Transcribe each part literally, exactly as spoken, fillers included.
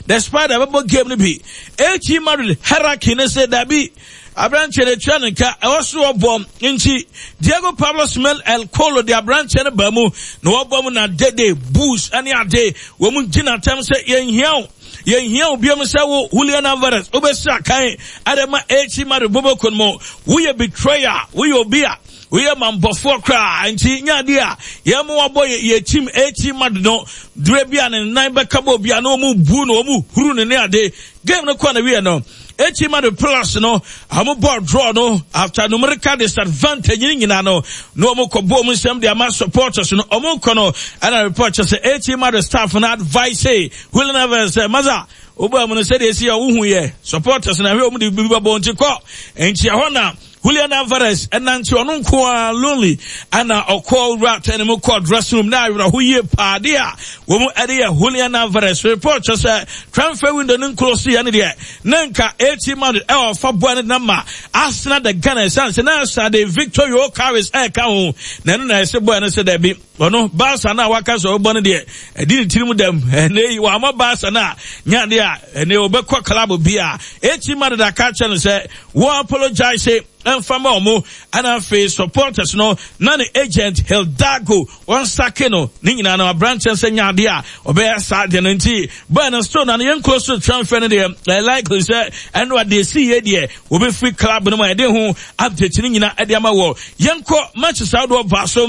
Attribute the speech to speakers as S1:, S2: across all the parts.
S1: The Spider bɛbɔ game no bi. A C Madrid hierarchy ne sɛ dabi, aberanteɛ no atua ne nka, ɛwɔ so ɔbɔ. Nti Diego Pablo Simeone El Colo de aberanteɛ no ba mu na wɔbɔ mu na dede boost ne ade wɔn mu gyina tɛm sɛ yɛnhia wo, yɛnhia wo biom sɛ wo Julian Alvarez wobɛsi akan ɛde ma A C Madrid bobɔkɔ no mu. Woyɛ betrayer, woyɛ obi a woyɛ mambɔfoɔ koraa, nti nyɛ adeɛ a yɛn mo wabɔ yɛ team A C Madrid no dure bi a ne nan bɛka bɔ obi a na wɔn bu no, wɔn huru no ne ade. Game no kɔ na wie no, A C Madrid plus no ɔmo bɔ draw no after numerical disadvantage ne nyinaa no na ɔmo kɔ bɔ ɔmo nsɛm de ama supporters no. Ɔmo kɔ no ɛna report kyerɛ sɛ A C Madrid staff no advice Julian Alvarez sɛ, masa, wobɔ mu no sɛdeɛ esi a wohu yɛ supporters na hwɛ ɔmo de bibi bɛbɔ nti kɔ. Nti ɛhɔ na Julian Alvarez ɛnante ɔno nko ara lonely ɛna ɔkɔ wura tɛne mu kɔ dressing room na awerɛho yie paade a wɔn ɛde yɛ Julian Alvarez. Report kyerɛ sɛ transfer window no nkuro so yɛ no deɛ ne nka A C Madrid ɛwɔ fa boa ne nama Arsenal the Gunners ɛsan sɛ na asa de Victor Gyokeres ɛɛka ho na ɛno na ɛsɛ boa no sɛ dɛbi, ɔno Barca no a waka sɛ ɔbɔ no deɛ ɛdi ne tirim dɛm. Ɛnɛ yi wɔama Barca no a nyadeɛ a ɛnɛ ɔbɛkɔ club bi a A C Madrid aka kyerɛ no sɛ wɔn apologize ɛmfa ma ɔmo, ɛna afei supporters no na ne agent Hidalgo wɔn sake no ne nyinaa no aberanteɛ sɛ nyadeɛ a ɔbɛyɛ saa deɛ no. Nti bɔɔl no still na no yɛn close to transfer no deɛ, ɛyɛ likely sɛ ɛno adeɛ si yie deɛ wɔbɛfiri club no mu a yɛde ho update no nyinaa ɛde ama wɔ. Yɛnkɔ matches ahodoɔ baa so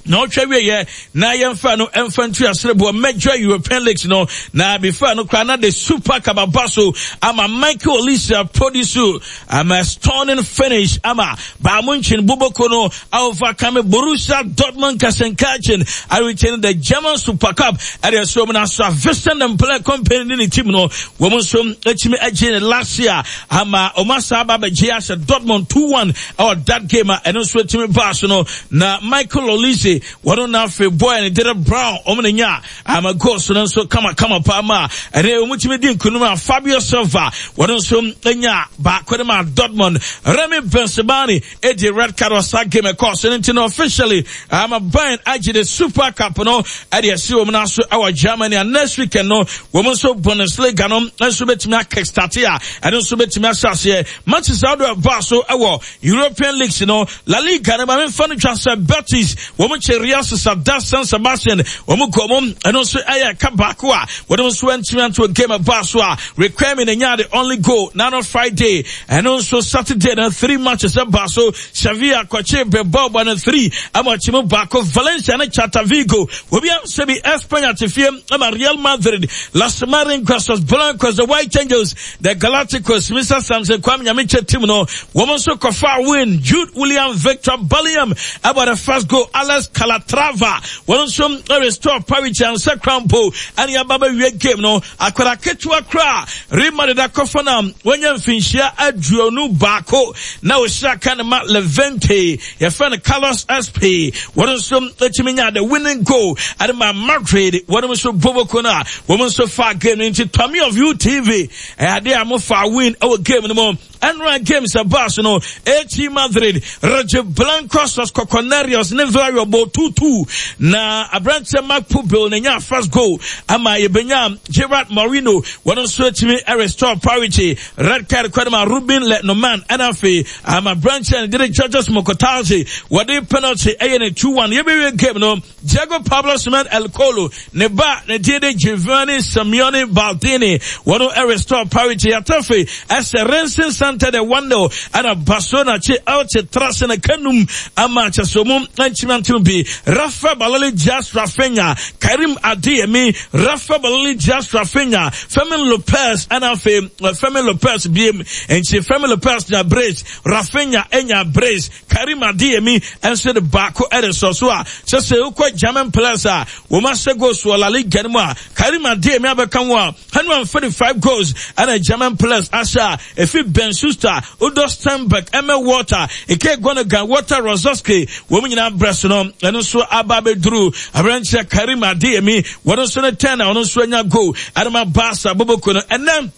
S1: na ɔtwa wieɛ na yɛmfa no ɛmfa ntu asereboɔ major European leagues no. Na before no koraa na the Super Cup aba so ama Michael Olise produce ama stunning finish ama Bayern Munchen boboko no overcome Borussia Dortmund Gelsenkirchen a retain the German Super Cup. Ɛde ɛsoro mu na so a Vincent and Play Company ne ne team no wɔn nso atumi agye ne last year ama wɔn asa aba abɛgye ahyɛ Dortmund two one ɛwɔ that game a ɛno nso atumi baa so no. Na Michael Olise wɔn na afei boy ne Dere Brown wɔn na nya ama goals no nso kamakama paa ma ɛne wɔn tumi di nkunim a Fabio Silva wɔn nso nya baako de ma Dortmund. Remy Bensebaini edi red card wɔ saa game ɛkɔɔ so no. Nti no officially ama Bayern agye the Super Cup no ɛde ɛsi wɔn nan so ɛwɔ Germany, and next weekend no wɔn nso Bundesliga no nso bɛtumi akickstart a ɛno nso bɛtumi ahyɛ aseɛ. Matches ahodoɔ ɛbaa so ɛwɔ European leagues no, La Liga no, maame nfa no twa sɛ Betis wɔn kyɛ Real Sociedad San Sebastian wɔn kɔ mu, ɛno nso ɛyɛ ɛka baako a wɔn nso ntumi anto. Game ɛbaa so a Riquelme na nya the only goal nano Friday. Ɛno nso Saturday no three matches ɛbaa so. Sevilla kɔkye Bilbao bɔ no three ama ɔkye mu baako. Valencia ne Celta Vigo obi ansɛ bi. Espanya te fie ama Real Madrid, Las Marinkas, Los Blancos, the White Angels, the Galacticos, Mister Samson Kwame Nyamiche team no wɔn nso kɔfa win. Jude William Victor Bellingham ɛbɔ the first goal. Alex Calatrava wɔn nso restore parity ansa crampo ɛne aba bɛwie game no. Akwara ketewa koraa Real Madrid akɔfa no a wɔnya mfinhyia aduonu baako na wɔhyia aka ne ma Levante, yɛfrɛ no Carlos Sp, wɔn nso atumi nya the winning goal ɛde ma Madrid. Wɔn nso boboko no a wɔn nso fa game no. Nti Tommy of U T V ɛyɛ adeɛ a mofa win ɛwɔ game no mu. Ɛnora games ɛbaa so no, A C Madrid, Rojiblancos, Los Coconarios ne Villarreal bɔ two two na aberanteɛ Marc Pubill na nya first goal ama yɛbɛnya Gerard Moreno wɔn nso atumi restore parity. Red card kɔ ma Ruben Le Normand, ɛna afei ama aberanteɛ no dede Georges Mokotadze wɔde penalty ɛyɛ ne two one. Yɛbɛwie game no, Diego Pablo Simeone El Colo ne ba ne din de Giovanni Simeone Baldini wɔn restore parity. Yɛtɛfe ɛsɛ Racing Santander one nil ɛna Barcelona kye Elche trase na kanum ama kyɛsɛ mu nkyima ntom bi. Rafa Balali Dias Rafinha, Karim Adeyemi, Rafa Balali Dias Rafinha, Fermin Lopez, ɛna afei Fermin Lopez biem. Nti Fermin Lopez nya brace, Rafinha enya brace, Karim Adeyemi nso de baako ɛde sɔ so a sɛ sɛ wokɔ German players a wɔn ahyɛ goals wɔ La Liga no mu a, Karim Adeyemi abɛka ho a one hundred and forty-five goals ɛna German players ahyɛ a efi Ben Schuster, Udo Steinberg, Emil Walter, Ike Gundogan, Walter Rosowski wɔn nyinaa brɛ so no, ɛno nso aba abɛduru aberanteɛ Karim Adeyemi wɔn nso ne ten a ɔno nso anya goal ɛde ma Barca boboko no ɛnɛ.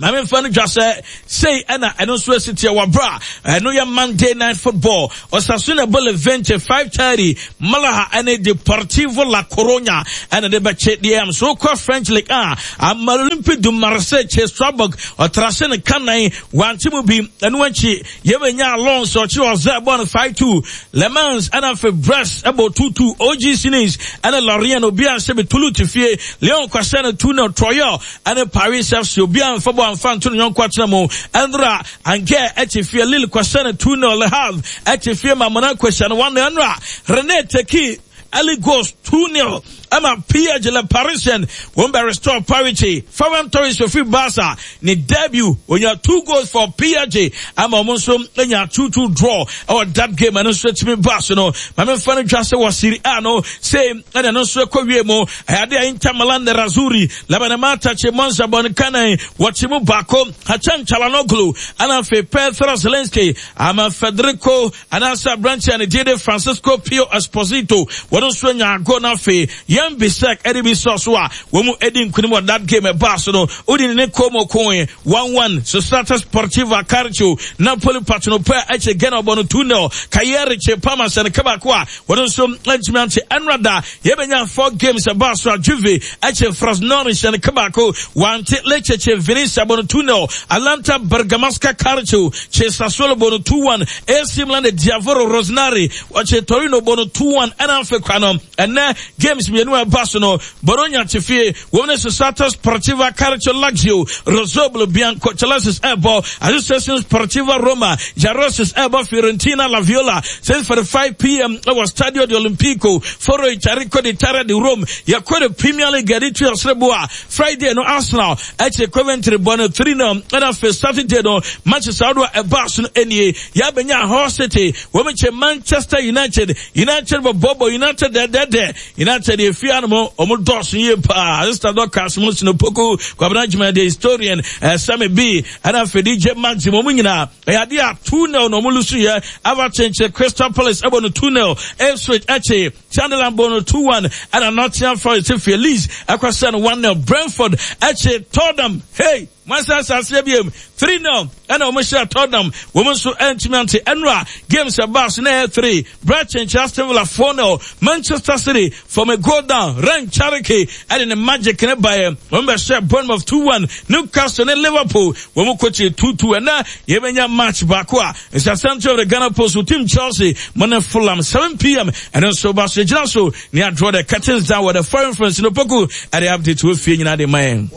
S1: Maame nfa no dwa sɛ sei ɛna ɛno nso esi teɛ wɔ bra ɛno yɛ Monday Night Football. Osasuna bɔ Levante five thirty. Malaga ɛne Deportivo La Coruña ɛna de bɛkye deɛ am so kɔ French League a ama Olympique de Marseille kye Strasbourg ɔtrase ne kanan wante mu bi. Ɛno akyi yɛbɛnya Lens ɔkye ɔzɛ bɔ no five two. Le Mans ɛna afei Brest ɛbɔ two two. O G C Nice ɛne Lorient obi a nhyɛ bi. Toulouse fie Lyon kɔhyɛ no two zero. Troyes ɛne Paris F C obi a nfa bɔ amfa nto ne yɔnko atena mu. Ɛnora Angers ɛkye fie Lille kɔhyɛ no two zero. Le Havre ɛkye fie ma Monaco hyɛ no one zero. Ɛnora Rennes take early goals two zero ɛma P S G. Le Parisien wɔn bɛ restore parity. Ferran Torres ofiri Barca ne debut, onya two goals for P S G ama wɔn nso anya two two draw ɛwɔ that game. Ɛno nso etumi ba so no, maame nfa no dwa sɛ wɔ Serie A no same ɛna ɛno nso ɛkɔ wie mu. Ɛyade a Inter Milan Nerazzurri Labanamata kye Monza bɔ ne kanan wɔkye mu baako. Hakan Calhanoglu ɛna afei Piotr Zielinski ama Federico anaasɛ aberanteɛ ne din de Francisco Pio Esposito wɔn nso anya ago. Na afei Yann Bisseck ɛde bi sɔ so a wɔn mu edi nkunim wɔ that game. Ɛbaa so no wodi ne Como koe one one. Società Sportiva Calcio Napoli Partenopei ɛkyɛ Genoa bɔ no two zero. Cagliari kye Parma hyɛ no kabaako a wɔn nso ntumi ante. Ɛnrada yɛbɛnya four games ɛbaa so a Juve ɛkyɛ Frosinone hyɛ no kabaako wante. Lecce kye Venezia bɔ no two zero. Atalanta Bergamasca Calcio kye Sassuolo bɔ no two one. A C Milan de Diavolo Rossoneri wɔkye Torino bɔ no two one. Ɛna afei kwa no ɛnɛ games mmienu a ɛba so no, Bologna te fie wɔn ne Società Sportiva Calcio Lazio Rossoblu Biancocelestes ɛbɔ. Associazione Sportiva Roma Giallorossi ɛbɔ Fiorentina La Viola six forty-five p m ɛwɔ Stadio de Olimpico Foro Italico di Terra di Rome. Yɛkɔ de Premier League ɛde tu ɔsrebo a Friday no Arsenal ɛkyɛ Coventry bɔ no three zero. Ɛna afei Saturday no Manchester ahodoɔ a ɛbaa so no nie yɛabɛnya Hull City wɔn kyɛ Manchester United. United bɔ bɔbɔ United dɛdɛdɛ. United efi anum wɔn dɔɔso yie paa. Sister Dorcas mo sinopoku Kwabena Juma the historian, ɛsɛmi bi ɛna afei D J Maxim wɔn nyinaa ɛyɛ adeɛ a two nil na wɔn lose yɛ. Everton kyɛ Crystal Palace ɛbɔ no two nil. Ipswich ɛkye Sunderland bɔ no two one. Ɛna Nottingham Forest fie Leeds ɛkɔsɛ no one nil. Brentford ɛkye Tottenham, hey, wɔn aseɛ biem three nil ɛna wɔn hyɛ Tottenham. Wɔn nso ɛntumi ante. Ɛnura games ɛbaa so na ɛyɛ three. Brighton kyɛ Aston Villa four nil. Manchester City from a goal down, Rayan Cherki ɛde ne magic ne baeɛ, wɔn bɛ hyɛ Bournemouth two one. Newcastle ne Liverpool wɔn kɔ two two. Ɛna yɛbɛnya match baako a nsasɛnto of the Ghana Post team Chelsea mo ne Fulham seven p m. Ɛno nso ba so gyina so ne draw the curtains down wɔ the foreign friends no poku ɛde update wɔ fie nyinaa de ma yɛn.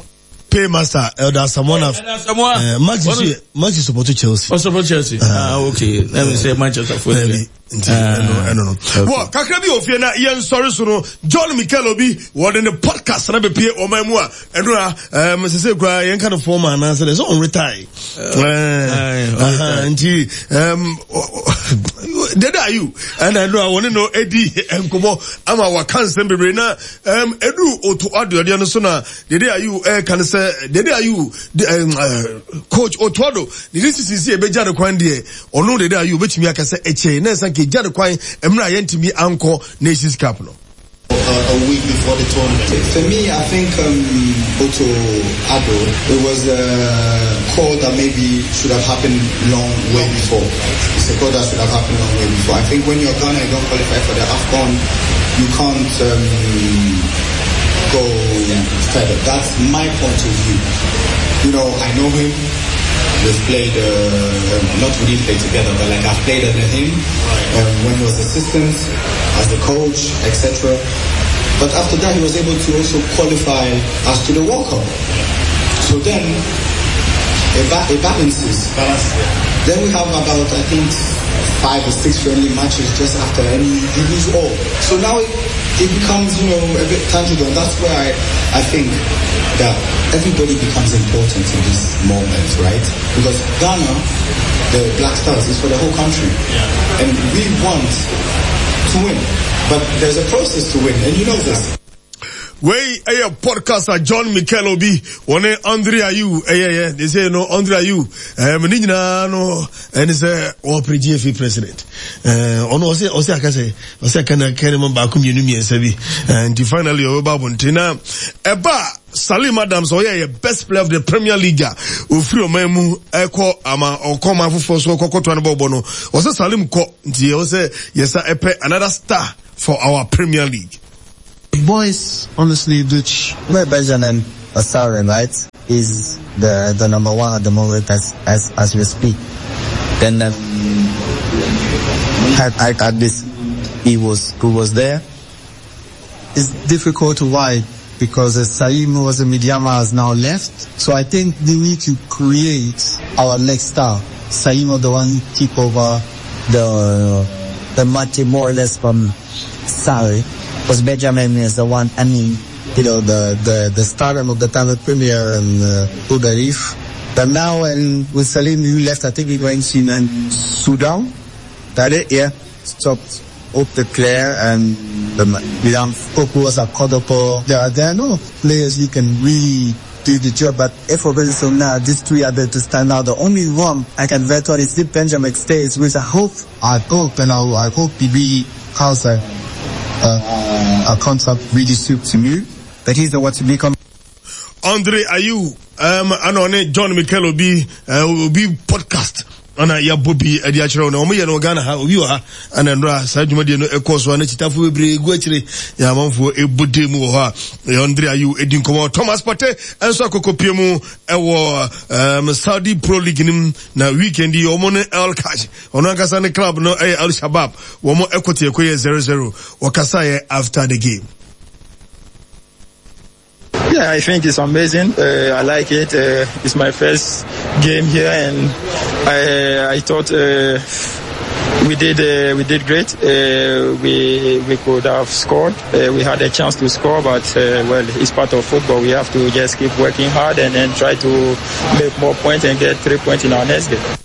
S2: Paymaster Elder Samoa.
S1: Elder Samoa.
S2: Uh, Maxi Maxi support Chelsea.
S1: Oh, support Chelsea. Ah, okay. Let me say Manchester for
S2: you. Nti ɛno ɛno no wɔ kakra bi wɔ fie na yɛn nsɔre so no, John Mikel Obi wɔde ne podcast na bɛpie ɔman mu a ɛno a ɛm sese kura yɛn ka no fɔm anaasɛ dɛ sɛ ɔn retire nti ɛm Dede Ayew ɛna ɛno a wɔne no edi nkɔmɔ ama waka nsɛm bebree na ɛm edu Otto Addo no so na Dede Ayew ɛɛka no sɛ Dede Ayew ɛm coach Otto Addo ne de sisi si ebegya ne kwan deɛ, ɔno Dede Ayew obetumi aka sɛ ɛkyɛ na ɛsan kegya ne kwan mmerɛ a yɛntumi ankɔ Nations Cup no.
S3: A week before the tournament.
S4: For me, I think um, Otto Addo, it was a call that maybe should have happened long way before. It's a call that should have happened long way before. I think when you're Ghana, you don't qualify for the AFCON, you can't um, go further. That's my point of view. You know, I know him. We've played, uh, not we didn't play together, but like I've played under him um, when he was assistant, as a coach, et cetera. But after that, he was able to also qualify us to the World Cup. So then, it, ba- it balances.
S3: Balance, yeah.
S4: Then we have about, I think, five or six friendly matches just after, and you, you lose all. So now it, it becomes, you know, a bit tangible, and that's where I, I think that everybody becomes important in this moment, right? Because Ghana, the Black Stars, is for the whole country.
S3: Yeah.
S4: And we want to win. But there's a process to win, and you know this.
S2: Wei ɛyɛ podcast a John Mikel Obi wɔne Andre Ayew ɛyɛyɛ de sɛ no Andre Ayew ɛɛm ne nyinaa no ɛne sɛ ɔpere G F A president ɛɛ ɔno ɔsɛ ɔsɛ aka sɛ ɔsɛ aka na kɛne ma baako mmienu mmiɛnsa bi ɛɛ nti finally ɔbɛba abɔnten na ɛba Salim Adams ɔyɛ yɛ best player of the Premier League a ofiri ɔman mu ɛkɔ ama ɔkɔ ɔman foforɔ so ɔkɔ kɔtoa no bɔɔbɔ no ɔsɛ Salim kɔ nti ɔsɛ yɛsa ɛpɛ another star for our Premier League.
S4: Boys, honestly, which
S5: Benjamin Asare, right, is the the number one at the moment as as as we speak. Then um, I, I at this he was who was there.
S4: It's difficult to why because Saim was a Medeama has now left. So I think they need to create our next star. Saim the one keep over
S5: the the match more or less from Sari. Because Benjamin is the one, I mean,
S4: you know, the, the, the stardom of the time at Premier and uh, Udarif. But now, and with Salim, who left, I think he went in and Sudan. That it, yeah. Stopped up the player and the Milan Poku was a Kodopo. There are, there are no players who can really do the job, but if for so now, these three are there to stand out. The only one I can veto is if Benjamin stays, which I hope, I hope, and I, I hope he really has a, Uh, a contract really suits me,
S5: but he's the one to become.
S2: Andre Ayew, um, and on John Mikel Obi, uh, Obi podcast. Ana ya bobi adi akyerɛ no ɔmo yɛ no Ghana ha obi wɔ ha ana ndra saa dwumadie no ɛkɔ so ana kyitafo bebree gu akyire ya amanfoɔ ɛbɔ mu wɔ hɔ a Andre Ayew edi nkɔmɔ Thomas Partey ɛnso akɔkɔpie mu ɛwɔ um, Saudi Pro League nim na weekend yi ɔmo ne El Kaj ɔno ankasa ne club no ɛyɛ Al Shabab wɔn ɛkɔte ɛkɔyɛ zero zero wɔkasa yɛ after the game.
S6: Yeah, I think it's amazing. Uh, I like it. Uh, it's my first game here, and I, I thought uh, we did uh, we did great. Uh, we we could have scored. Uh, we had a chance to score, but uh, well, it's part of football. We have to just keep working hard and then try to make more points and get three points in our next game.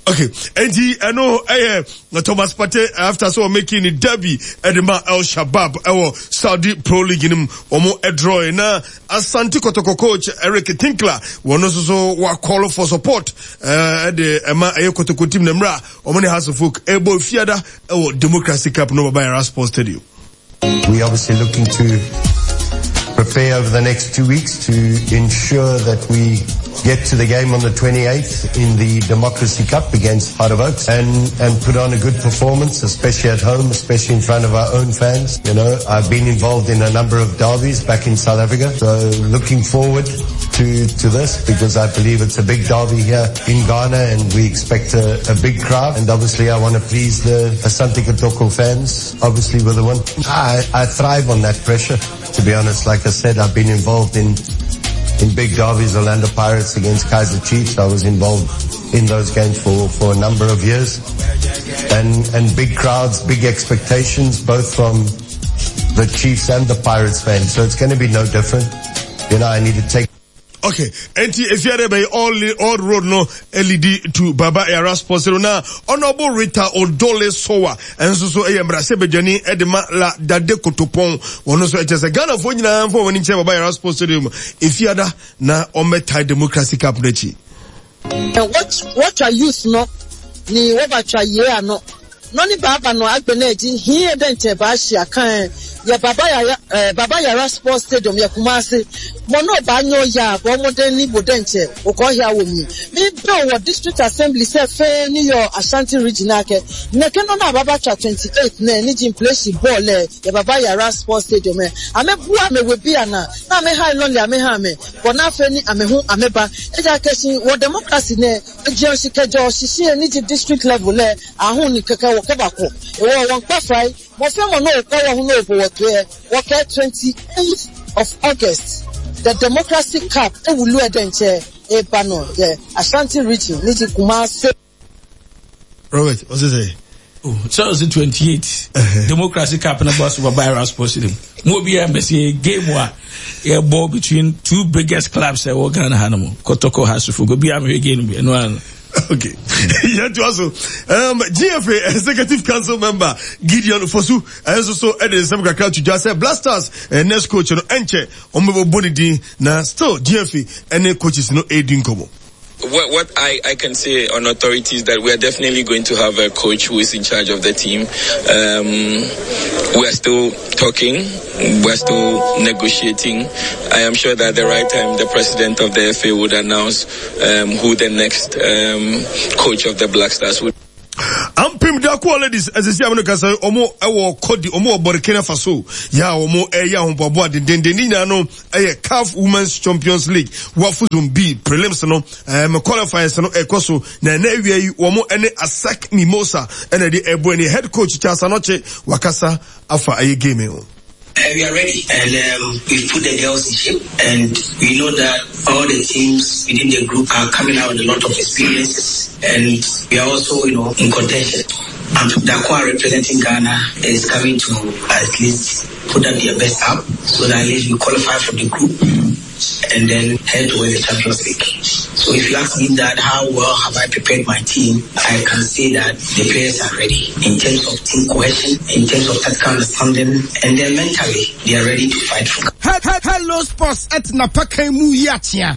S2: Okay, and he, I know, eh, Thomas Partey after so making the derby at the El Shabab, our Saudi Pro League in him, omo draw na Asante Kotoko coach Eric Tinkler, one also so wa call for support, eh, the Emma Ayo Kotoko team Nemra, Omani House of Folk, Ebo Fiada, our Democracy Cup no by Sports Stadium.
S7: We obviously looking to prepare over the next two weeks to ensure that we get to the game on the twenty-eighth in the Democracy Cup against Heart of Oaks and, and put on a good performance, especially at home, especially in front of our own fans. You know, I've been involved in a number of derbies back in South Africa, so looking forward to, to this because I believe it's a big derby here in Ghana and we expect a, a big crowd. And obviously I want to please the Asante Kotoko fans, obviously with the one. I, I thrive on that pressure, to be honest. Like I said, I've been involved in in big derbies, Orlando Pirates against Kaizer Chiefs. I was involved in those games for, for a number of years. And, and big crowds, big expectations, both from the Chiefs and the Pirates fans. So it's going to be no different. You know, I need to take.
S2: Okay, enti efiare be all all road no L E D to Baba Yara Sports na Honorable Rita Odole Sowa enso so eye mra se bedwani e de ma la dade kotopon wono so eche se Ghana fo nyina fo woni che Baba Yara Sports Stadium efiada na ometai Democracy Cup n'achi.
S8: What what are youth no ni wo ba twa ye ano no ni baba no agbe na eji hin e den ba hia kan ye Baba Yara Baba Yara Sports Stadium ye Kumasi mo no ba nyo ya bo mo den ni bodenche okohia wo mi mi be wo district assembly se fe ni yo Ashanti regional ke neke no na baba twa twenty-eight na ni jim place ball e ye Baba Yara Sports Stadium e ame bua me we bia na na me ha lonely ame ha me bo na fe ni ame hu ame ba e ja kesin wo democracy ne e je osikejo osisi ni district level e ahun ni keke wo ke ba ko e wo won pa fai mo fe mo no ko wo hu no bo wo to e wo ke twenty-eighth of August the Democracy Cup ewulu edenche e bano yeah Ashanti region ni Kumasi.
S2: Robert, what's it say?
S1: Oh, so it's twenty-eight. Uh-huh. Democracy Cup na boss over Baba Sports Stadium. Mo bi embassy game wa e ball between two biggest clubs e wo Ghana ha no mo. Kotoko Hasufo go bi am game bi no.
S2: Okay. Yɛntoa so. Um, G F A Executive Council member Gideon Fosu ɛnso so ɛde nsɛm kakra to dwa sɛ Black Stars eh, next coach no ɛnkyɛ wɔn bɛbɔ ne din, na still G F A ɛne coaches no ɛredi nkɔmmɔ.
S9: What, what I, I can say on authority is that we are definitely going to have a coach who is in charge of the team. Um, we are still talking. We are still negotiating. I am sure that at the right time, the president of the F A would announce um, who the next um, coach of the Black Stars would.
S2: Ampem Darkoa Ladies ɛsisi amino kasa, ɔmo ɛwɔ Kɔdi, ɔmo wɔ Burkina Faso yà, ɔmo ɛyɛ ahoboaboa dendenden. Ne nyinaa no ɛyɛ CAF Women's Champions League WAFU Zone B prelims no, ɛɛm qualifiers no ɛkɔ so, na ɛnɛ awia yi wɔn ɛne ASEC Mimosa ɛna ɛde ɛbɔ ani. Head coach Charles Anɔkye wakasa afa ɛyɛ game yi ho.
S10: Uh, we are ready and um, we've put the girls in shape, and we know that all the teams within the group are coming out with a lot of experiences, and we are also, you know, in contention. And Darkoa representing Ghana is coming to at least put up their best up so that at least we qualify for the group and then head towards the Champions League. So if you ask me that how well have I prepared my team, I can say that the players are ready in terms of team cohesion, in terms of tactical understanding, and then mentally they are ready to fight for.
S11: Hello Sports at Napakan mu yi akyea.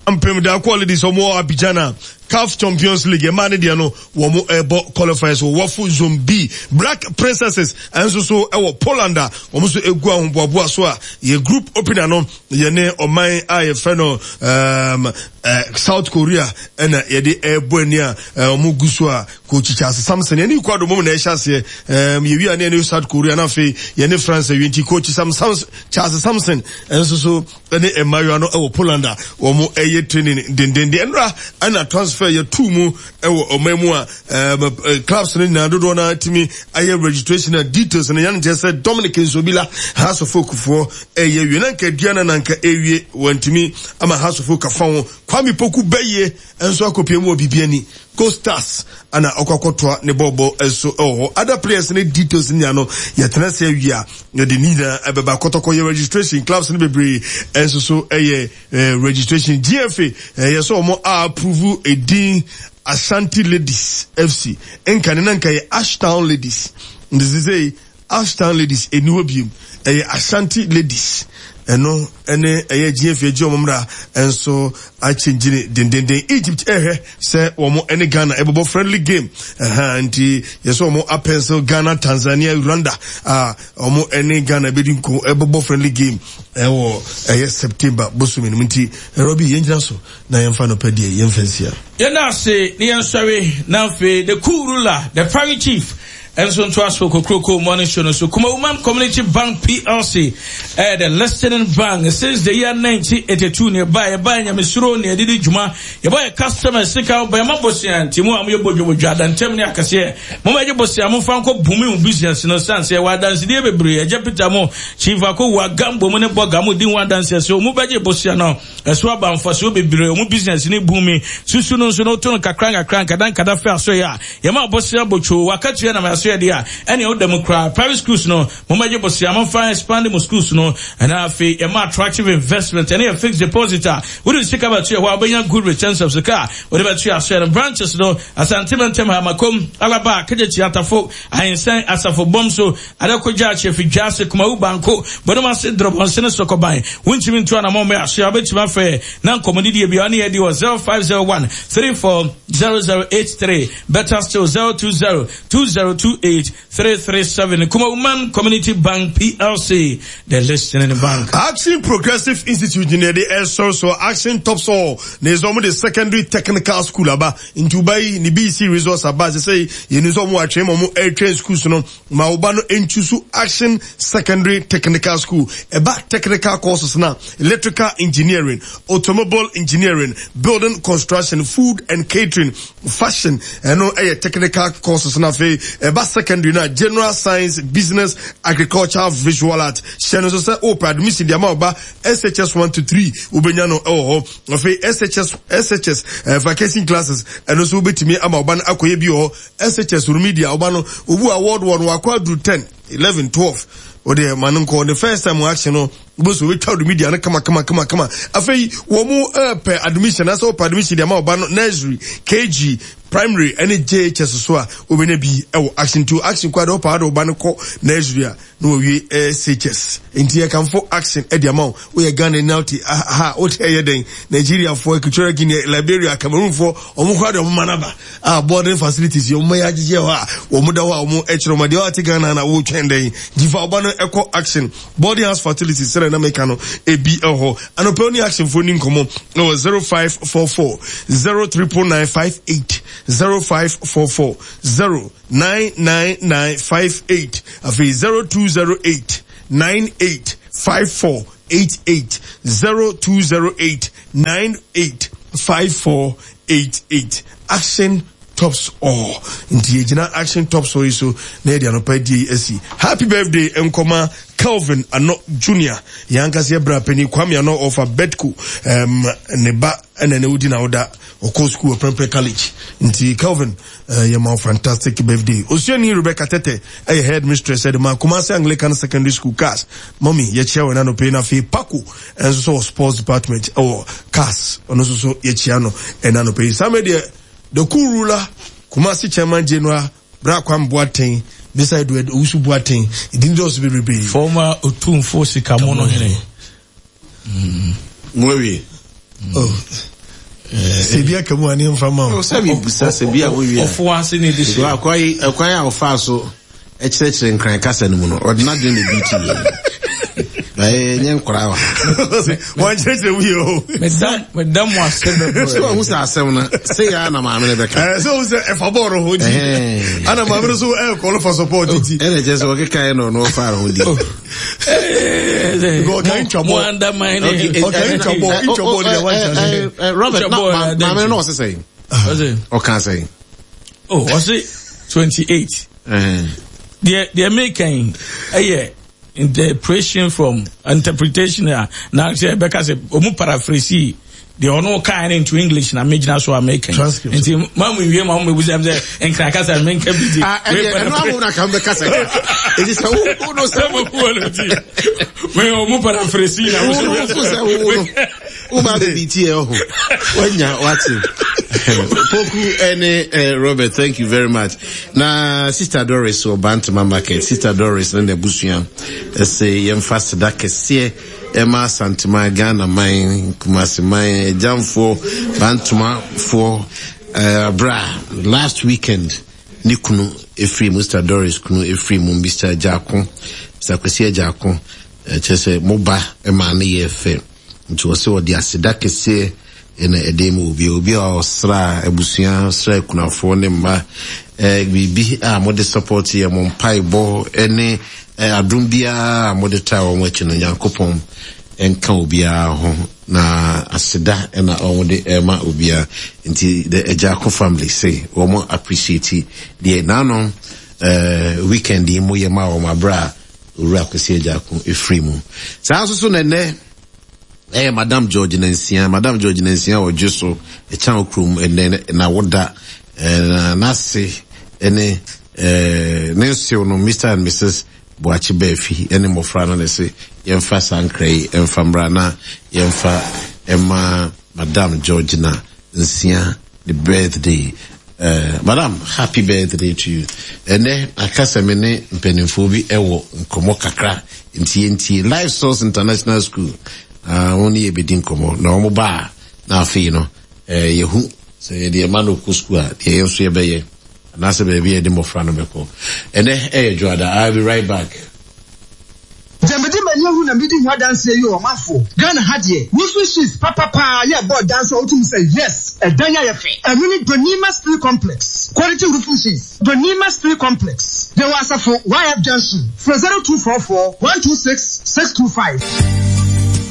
S2: Ampem Darkoa Ladies, ɔmo wɔ Abidjan a CAF Champions League ɛmaa ne deɛ no wɔn ɛbɔ qualifiers wɔ WAFU Zone B. Black Princesses ɛnso so ɛwɔ Poland a wɔn nso egu ahoboaboa so a yɛ group opener no yɛne ɔman a yɛfrɛ no um, uh, South Korea ɛna yɛde ɛbɔ ani a wɔn gu so a Coach Charles Sampson yɛne Ecuador mom na ɛhyɛ aseɛ um, yɛwi a ne yɛne South Korea, na afei yɛne France awie. Nti Coach Sam, Sam, Charles Sampson ɛnso so ɛne mmaayewa no ɛwɔ Poland a wɔn ɛyɛ training dendenden. Ɛnura ɛna transfer yɛ tu mu ɛwɔ ɔman mu a ɛɛm clubs no nyinaa dodoɔ no tumi ayɛ registration a details no yɛn kyerɛ sɛ Dominic Nsobila, Hearts of Oak foɔ ɛyɛ wie na nka aduana na nka ɛwie wɔntumi ama Hearts of Oak afa ho. Kwame Poku bɛyie nso akɔpie mu wɔ Bibiani Gold Stars ana ɔkɔ akɔtoa ne bɔɔbɔ nso ɛwɔ hɔ. Other players ne details ne nyinaa no yɛtena sɛ awie a yɛde ne nyinaa ɛbɛba. Kɔtɔkɔ yɛ registration, clubs no bebree nso so ɛyɛ eh, registration. G F A ɛyɛ sɛ wɔn a approve edin Ashanti Ladies F C. Nka ne na nka yɛ Ashtown Ladies, nti sɛ Ashtown Ladies ɛni hɔ biem, ɛyɛ Ashanti Ladies. Ɛno ɛne ɛyɛ G F A gye wɔn mmra nso akyɛngyine dendenden. Egypt ɛhwɛ sɛ wɔn ɛne Ghana ɛbɛbɔ friendly game ɛha, nti yɛsɛ wɔn apencil Ghana, Tanzania, Rwanda a wɔn ɛne Ghana ɛbɛdi nko ɛbɛbɔ friendly game ɛwɔ ɛyɛ September bosomi no mu. Nti ɛrɔ bi yɛn gyina so na yɛmfa no pɛ deɛ yɛmfa nsia.
S1: Yɛn ase ne yɛn sɔre, na afei the cool ruler, the party chief, ɛnso nto aso Kokroko Morning Show no so. Kumawoman Community Bank P L C ɛyɛ the listening bank since the year nineteen eighty-two. Ne ɛba yɛba nyamesuro ne yɛde di dwuma, yɛbɔ yɛ customer sika bɛma bosia, nti mu a moyɛ bodwobodwo adantam ne akɛseɛ, momɛgye bosia momfa nkɔ bumi mu business no sane sɛ yɛwɔ adansedeɛ bebree. Ɛgya Peter mo, Chief Akowu Agambo mu ne bɔga mo di ho adanseɛ sɛ ɔmu bɛgye bosia no ɛso aba mfasoɔ bebree, ɔmu business ne bumi susu no nso no woto no kakra nkakra nkada nkada fɛ aso yɛ a yɛma bosia botwo wakatua na aso yɛ deɛ a ɛne woda mu koraa. Private schools no, momɛgye bosia momfa expand mo schools no, ɛna afei yɛma attractive investment ɛne yɛ fixed deposit a wode sika bɛto yɛ hɔ a wobɛnya good returns of sika a wode bɛto yɛ aso yɛ no. Branches no, Asante Mantam ha, Makom, Alaba, Kegyekyi, Atafo, Ahensan, Asafo, Bɔm so, Adakogya, Akyɛfi, Dwase, Kumawu, Banko, Bɔnum Ase, Drɔbɔnse ne Sɔkɔban. Wontumi nto anammɔ mmɛ aso a wobɛtumi afɛ na nkɔmmɔdidie bia ne yɛdi wɔ zero five zero one three four zero zero eight three, better still zero two zero two zero two eight three three seven. Kumawoman Community Bank P L C, the listening bank.
S2: Action Progressive Institute ne yɛde ɛsɔre so. Action Tops All na ɛsɛ ɔmo de secondary technical school aba, nti woba yi ne B E C results aba sɛ sɛ yɛnu sɛ ɔmo atwɛn ma ɔmo ɛretwɛn schools no ma woba no ntusu Action Secondary Technical School. Ɛba technical courses na electrical engineering, automobile engineering, building construction, food and catering, fashion, ɛno ɛyɛ technical courses. Na afei ɛba secondary na general science, business, agriculture, visual art. Hyɛ no nso sɛ wopɛ admission de ama ɔba S H S one to three, wobɛnya no ɛwɔ hɔ. Afei S H S S H S uh, vacation classes, ɛno nso wobɛtumi ama ɔba no akɔyɛ bi wɔ hɔ. S H S remedial, ɔba no obu a ward one wakɔ aduru ten, eleven, twelve, ɔde ma no nkɔ the first time action no. Wobɛsɛ wɔbɛtwa wo media no kama kama kama kama. Afei wɔn mu pɛ admission asɛ wɔpɛ admission de ama ɔba no nursery, K G, primary ɛne J H S so a, wobɛnya bi ɛwɔ Action two. Action kɔ ade wɔpa ade ɔba no kɔ nursery a na wɔwie S H S. Nti yɛkamfo Action ɛde ama wo. Woyɛ Ghana ni wote ha, wote ɛyɛ dɛn, Nigeriafoɔ, Equatorial Guinea, Liberia, Cameroonfoɔ, ɔmo koraa de ɔmo ma naba a boarding facilities yɛ ɔmo yɛ agyegye hɔ a wɔn da hɔ a wɔn ɛkyerɛ ɔmo adeɛ. Ɔte Ghana na wɔretwɛn dɛn? Gyifa ɔba no ɛkɔ Action Boarding house facilities sɛdeɛ na meka no ebi ɛwɔ hɔ. Anɔpɛ ne Action foɔ ni nkɔmɔ ɛwɔ zero five four four zero triple nine five eight, zero five four four zero nine nine nine five eight, afei zero two zero eight nine eight five four eight eight, zero two zero eight nine eight five four eight eight. Action Tops All. Nti yɛgyina Action Tops All yi so na yɛde anɔpa die asi. Happy birthday nkɔma Kelvin Ano Junior, yɛn ankasa yɛ bra panyin Kwame Ano ɔfa Betco, um, ne ba ɛna ne wodi na woda ɔkɔ school wɔ Prempeh College. Nti Kelvin, uh, yɛma wo fantastic birthday. Osuani Rebecca Tete ɛyɛ head mistress ɛde ma Kumasi Anglican Secondary School, CAS. Mummy, yɛkyia wɔ n'anɔpɛ yi. Na afei Paco ɛnso so wɔ sports department ɛwɔ CAS, ɔno nso so yɛkyia no ɛna anɔpɛ yi. Saa deɛ, the cool ruler, Kumasi chairman general, Bra Kwame Boateng, Mister Edward Owusu Boateng, ìdí dɔɔso bebree.
S1: Former Otumfo Sikamono hene.
S12: Mo awie.
S2: Oh. Sɛ aka mu a ne mfa ma wo.
S12: Sɛ mebusa sɛ bi a wowie.
S1: Ɔfo ase ne de
S12: hyɛ. Ɛkwan a ɔfaa so ɛkyerɛkyerɛ Nkran kasa no mu no, ɔde n'adwene na ebi ti yɛ. Ɛyɛ nyɛ nkwaraa wa.
S2: Wɔn kyerɛkyerɛ mu yɛ o.
S1: Meda mo ase bebree.
S12: Sɛ ɔhu sɛ asɛm no sɛ yɛ na maame no bɛka.
S2: Ɛɛ sɛ ɔhu sɛ ɛfa bɔɔl ho di. Ana maame no so ɛɛ call for support ti.
S12: Ɛna kyerɛ sɛ ɔkeka yɛ na ɔno ɔfa ho di.
S2: Ɔka ntwa bɔɔl.
S1: Mo undermine.
S2: Ɔka ntwa bɔɔl, ntwa bɔɔl de wa
S12: nkyɛn. Robert, na maame no ɔsɛ sɛn? Ɔka sɛn?
S1: Oh, ɔsɛ twenty eight. Deɛ deɛ meka yi ɛyɛ interpretation from interpretation a na sɛ ɛbɛka sɛ ɔmu paraphrase deɛ ɔno kaa no into English na megyina so a meka yi. Nti ma mu nwie ma mo bɛbu sɛ sɛ Nkran kasa menka bi di.
S12: Ɛno awo na ka mbɛka sɛ ɛti sɛ wo no sɛ
S1: mo no ti me ɔmu paraphrase na
S12: wo sɛ wo no wo ba bɛ bi tie ɔho wanya wate. Poku ɛne Robert, thank you very much. Na Sister Doris wɔ Bantama Market, Sister Doris ne n'abusua ɛsɛ yɛmfa seda kɛseɛ ɛma Asantema, Ghana man, Kumasi man, agyamfoɔ, Bantomafoɔ, abra last weekend ne kunu efiri mu, Sister Doris kunu efiri mu, Mister Agyako, Mister Kwesi Agyako. Ɛkyerɛ sɛ mo ba ɛma ne yɛ fɛ, nti wɔsɛ wɔde aseda kɛseɛ ɛna ɛde mu obi obi a ɔsra abusua, sra akunafoɔ ne mma, ɛɛ biribi a mode support yɛ, mo mpaebɔ ɛne ɛɛ adum biara a mode taa wɔn akyi no, Nyankopɔn nka obiara ho. Na aseda ɛna wɔn de ɛma obiara. Nti the Agyako family say wɔn appreciate deɛ n'ano ɛɛ weekend yi mo yɛ ma wɔn abere a Owura Kwesi Agyako efiri mu. Saa nso so na ɛnɛ ɛyɛ Madam George Nansia, Madam George Nansia ɔdwe so ɛkyan kurom. Ɛnɛ na woda ɛɛ n'ase ɛne ɛɛ ne nsew no, Mister and Missus Boakye Baafi ɛne mmɔfra no, na ɛsɛ yɛmfa saa nkra yi ɛmfa mmra na yɛmfa ɛma Madam George na Nsia the birthday. uh, madam happy birthday to you. Ɛnɛ aka sɛ me ne mpanimfoɔ bi ɛwɔ nkɔmmɔ kakra, nti yɛntie Life Source International School. uh, wɔn ne yɛbɛdi nkɔmmɔ na wɔn ba a, na afei no uh, yɛhu sɛ yɛde ɛma no kɔ school a, deɛ yɛn nso yɛbɛyɛ anaasɛ baabi a yɛde mmɔfra no bɛkɔ. Ɛnɛ ɛyɛ Dwoada. I'll be right back.
S11: Gyamede m'ani ahu na medi ho adanseɛ yi. Ɔmanfo, Ghana ha deɛ, roofing sheets papapaa yɛ bɔɔ dan so a wotum sɛ yes, ɛdan ayɛ fɛ. Ɛno ne Donima Steel Complex quality roofing sheets. Donima Steel Complex yɛwɔ Asafo Y F Junction. Frɛ zero two four four one two six six two five.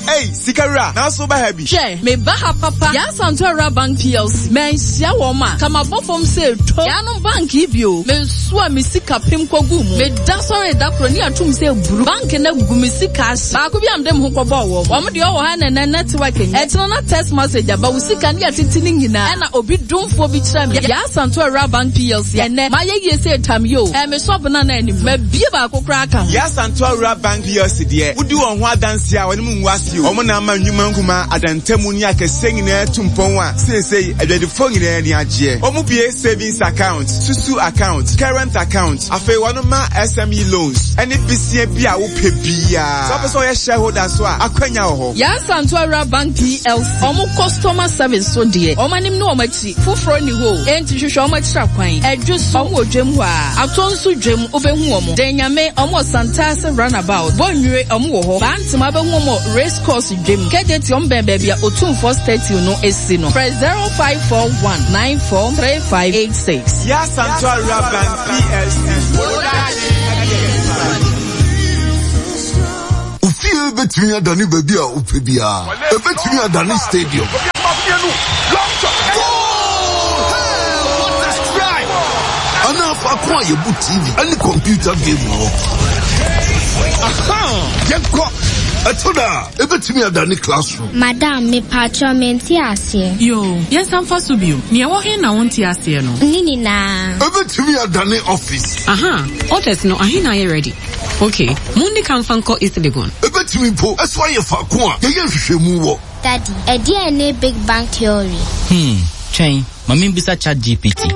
S13: Hey, Sikara, now so happy.
S14: Che, me baha papa. Yaa Asantewaa Bank P L C. Men sia woma. Kama bofom se to. Yanom bank ibio. Me suwa mi sika pim kogu mu. Me da sorry da kro ni atum se buru. Bank na gu mi sika. Ba ko bi am dem ho kobo wo. Wo me de wo ha na na network ni. E tino na text message aba wo sika ni atitini nyina. E na obi dumfo bi kira me. Yaa Asantewaa Bank P L C. Ene ma ye ye se tam yo. E me shop na na anim. Ma bie ba ko kra ka.
S13: Yaa Asantewaa Bank P L C de. Wudi won ho adanse a woni mu nwase o. Omo na ama nwuma nkuma adantamu ni akese nyina tumpon a sesei adwadifo nyina ni agye. Omo bie savings account, susu account, current account, afei wono ma S M E loans, any B C B a wo pe bia. So person ye shareholder so a akwanya wo ho.
S14: Yaa Asantewaa Bank P L C. Omo customer service so de. Omo anim no omo achi. Foforo ni ho. Enti hwehwe omo akira kwan. Adwo so omo odwem ho a. Atonso dwem obehu omo. Denyame omo Santase runabout. Bonwire omo wo ho. Bantima behu omo race course dwem. Kejeti omo bɛn baabi a Otumfo statue no esi no. Press zero five four one nine four three five eight six.
S13: Yaa Asantewaa Bank P L C.
S15: Ufie betumi adane baabi a wopɛ biara. Ebetumi adane stadium. Ana faako a yɛbu T V ɛne computer game wɔ. Aha! Yɛnkɔ! Ɛto da, ebetumi adane classroom.
S16: Madam, me patro mente aseɛ.
S17: Yo, yɛnsa mfa so bio. Nea ɛwɔ he na wonte aseɛ no?
S16: Ne nyinaa.
S15: Ebetumi adane office.
S17: Aha, orders no ahe na ayɛ ready. Okay, mundi ka mfa nkɔ East Legon.
S15: Ebetumi mpo, ɛso ayɛ faako a yɛyɛ nhwehwɛmu wɔ.
S16: Daddy, ɛdeɛn ne Big Bang Theory?
S18: Hmm, twɛn, ma membisa Chat G P T.